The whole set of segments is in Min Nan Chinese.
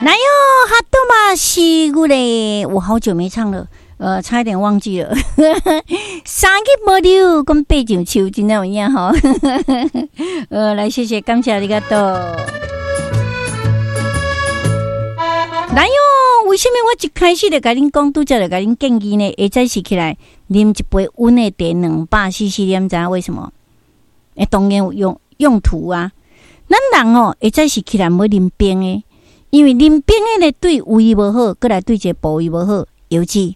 來喲，哈多嘛西古嘞，我好久沒唱了，差一點忘記了。三日無溜，講爬上樹，真有影吼。來，謝謝，感謝ありがとう。來喲，為什麼我一開始就共恁講，拄才就共恁建議呢？下早時起來啉一杯溫的茶，200 cc，你知影為什麼？欸，當然有用途啊。咱人哦，下早時起來毋好啉冰的，因為啉冰的呢，對胃無好，閣來對這個部位無好，腰子。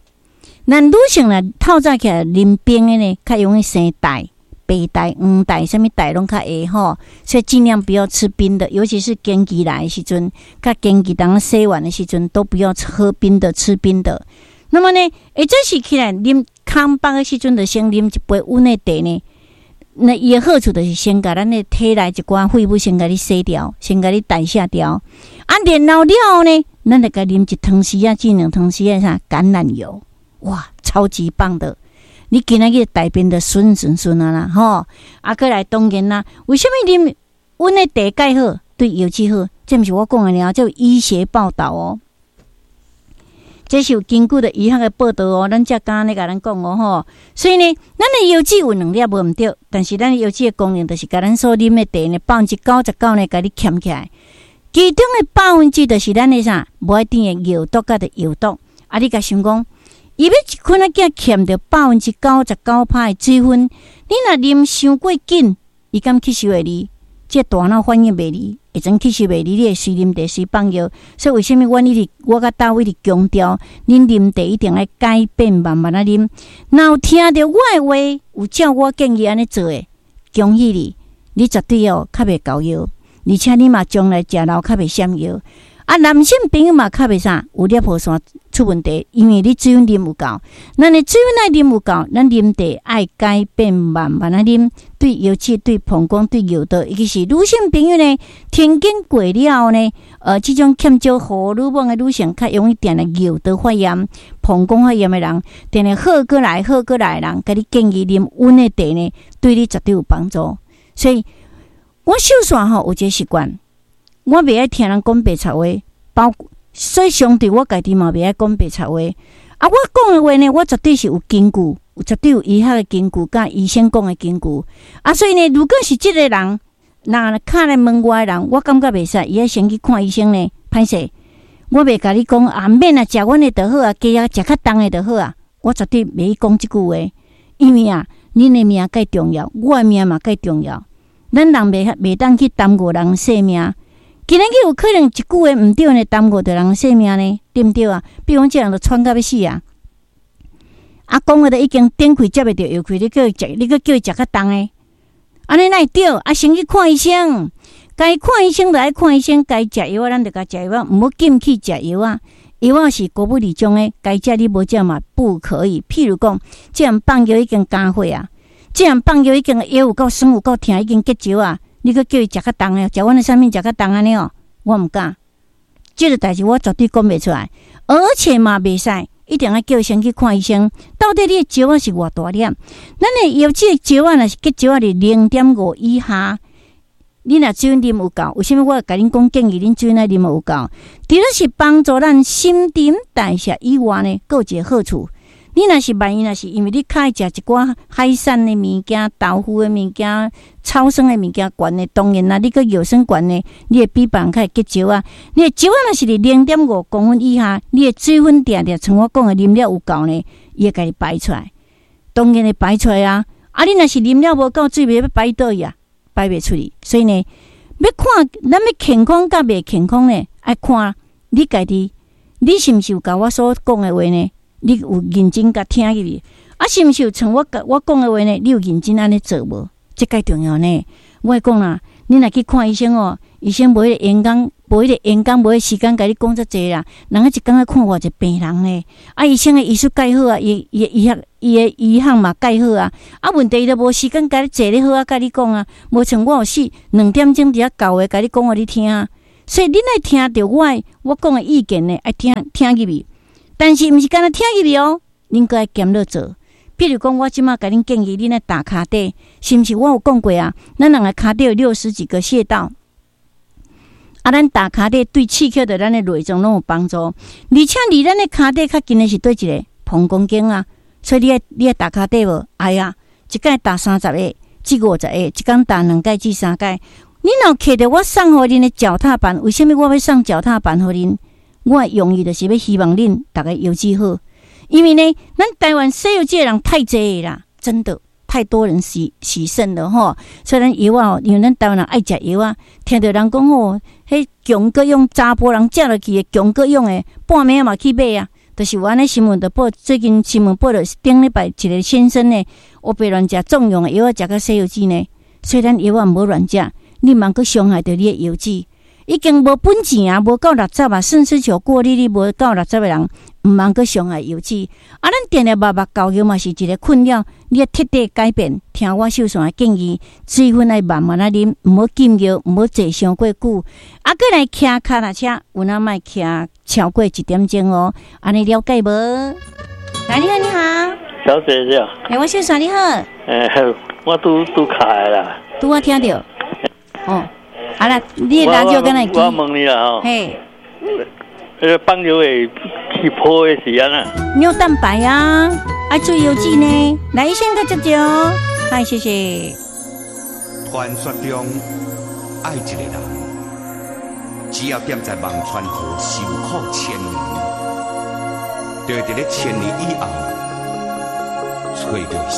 咱女性若透早起來啉冰的呢，較容易生帶、白帶、黃帶，啥物帶攏較會吼，所以盡量不要吃冰的，尤其是經期來的時陣，較經期當洗完的時陣，都不要喝冰的、吃冰的。那麼呢，下早時起來啉空腹的時陣，就先啉一杯溫的茶呢。那伊的好處就是先共咱的體內一寡廢物先共你洗掉，先共你代謝掉。啊，然後了後呢，咱就共啉一湯匙仔至2湯匙仔啥橄欖油，哇，超級棒的！你今仔日大便就順順順啊啦，吼！啊，閣來當然啦，為啥物啉溫的茶蓋好，對腰子好？這毋是我講的爾，這有醫學報導哦。這是有根據的醫學的報導哦，咱才敢按呢共咱講哦吼。所以呢，咱的腰子有兩粒無毋對，但是咱的腰子的功能就是共咱所啉的茶呢，99%呢，共你儉起來。其中的百分之就是咱的啥，無愛甜的尿毒佮著藥毒。啊，你共想講，伊欲一罐仔囝儉著99%的水分，你若啉傷過緊，伊敢吸收會離？這大腦反應袂離，會準吸收袂離，你會隨啉茶隨放尿。所以為啥物阮一直我佮大衛一直強調，恁啉茶一定愛改變，慢慢仔啉。若有聽著我的話，有照我建議按呢做的，恭喜你，你絕對哦較袂厚尿，而且你嘛將來食老較袂閃尿。啊，男性朋友嘛較袂啥有尿腺出問題，因為你水分啉有夠。咱的水分愛啉有夠，咱啉茶愛改變慢慢仔啉，對腰子、對膀胱、對尿道，尤其是女性朋友呢，停經過了後呢，這種欠少荷爾蒙的女性，較容易定定尿道發炎、膀胱發炎的人，定定好過來、好過來的人，共你建議啉溫的茶呢，對你絕對有幫助。所以，我秀紲吼有一個習慣。我袂愛聽人講白賊話，包所以相對我家己嘛袂愛講白賊話。啊，我講的話呢，我絕對是有根據，有絕對有醫學的根據，佮醫生講的根據。啊，所以呢，如果是這個人，若敲來問我的人，我感覺袂使，伊愛先去看醫生呢。歹勢，我袂共你講啊，毋免啊，食阮的就好啊，加啊食較重的就好啊。我絕對袂去講這句話，因為啊，恁的命蓋重要，我的命嘛蓋重要。咱人袂當去耽誤人性命。今仔日有可能一句話毋對呢，耽誤著人性命呢，對毋對啊？比如講，這人就喘甲欲死啊！啊，講話都已經頂氣接袂著藥氣，你叫伊食，你閣叫伊食較重的，按呢哪會對？啊，先去看醫生，該看醫生就愛看醫生，該食藥仔咱就共食藥仔，毋好禁去食藥仔。藥仔是國母裡種的，該食你無食嘛不可以。譬如講，這人放尿已經加血啊，這人放尿已經腰有夠酸有夠疼，已經結石啊。你閣叫伊食較重的，食阮的產品食較重按呢哦，我毋敢。這個代誌我絕對講袂出來，而且嘛袂使，一定愛叫伊先去看醫生。到底你的石仔是偌大粒？咱的腰子的石仔若是結石仔佇0.5以下，你若水分啉有夠，為啥物我會共恁講建議恁水分愛啉有夠？除了是幫助咱新陳代謝以外呢，閣有一個好處。你若是萬一若是因為你較愛食一寡海產的物件、豆腐的物件、草酸的物件懸的，當然啦，你閣尿酸懸的，你會比別人較會結石啊。你的石仔若是佇0.5公分以下，你的水分定定像我講的啉了有夠呢，伊會共你排出來，當然會排出來啊。啊，你若是啉了無夠水，欲排佗去啊，排袂出去。所以呢，欲看咱欲健康佮袂健康呢，愛看你家己，你是毋是有共我所講的話呢？你有認真共聽入去？啊，是毋是有像我講的話呢？你有認真按呢做無？這蓋重要呢。我會講啦，你若去看醫生哦，醫生無彼個閒工，無彼個閒工，無彼個時間共你講遮濟啦。人家一工愛看偌濟病人呢？啊，醫生的醫術蓋好啊，伊的醫學，伊的醫學嘛蓋好啊。啊，問題伊都無時間共你坐咧好啊，共你講啊。無像我有四2點鐘佇遐厚話共你講予你聽。所以恁愛聽著我的我講的意見呢，愛聽聽入去。但是毋是干焦聽入去哦，恁閣愛兼落做。譬如講，我這馬共恁建議，恁愛打跤底，是毋是？我有講過啊，咱人的跤底有60幾個穴道。啊，啊，咱踏跤底對刺激著咱的內臟攏有幫助，而且離咱的跤底較近的是佗一个？膀胱經啊。所以你愛踏跤底無？愛啊，一擺踏30個至50個，一工踏兩擺至三擺。你若揢著我送予恁的腳踏板，為啥物我欲送腳踏板予恁？我的用意就是欲希望恁逐个腰子好，因為呢，咱台灣洗腰子的人太濟啦，真的太多人洗洗腎了吼。所以咱藥仔，因為咱台灣人愛食藥仔，聽著人講吼，彼強國勇查埔人食落去的強國勇的，半暝嘛去買啊。就是有按呢新聞就報，最近新聞報著頂禮拜一个先生呢，烏白亂食壯陽的藥仔，食甲洗腰子呢。所以咱藥仔毋好亂食，你毋通閣傷害著你的腰子。已經無本錢啊，無夠六十啊，腎絲球過濾率無夠六十的人，毋通閣傷害腰子。啊，咱定定目目厚藥嘛是一个困擾，你欲徹底改變，聽我秀璇的建議，水分愛慢慢仔啉，毋好禁藥，毋好坐傷過久。啊，閣來騎跤踏車，有影莫騎超過一點鐘哦。按呢了解無？來，你好，你好，小姐姐。欸，我秀璇你好。欸，我拄拄開啦。拄我聽著。哦。好啦，你的辣椒敢會記？我問你啦吼。嘿。彼个放尿會起泡的是按怎？尿蛋白啊，愛注意腰子呢。來，醫生閣接著。嗨，謝謝。傳說中愛一个人，只要踮在忘川河受苦千年，就會佇咧千年以後，揣著。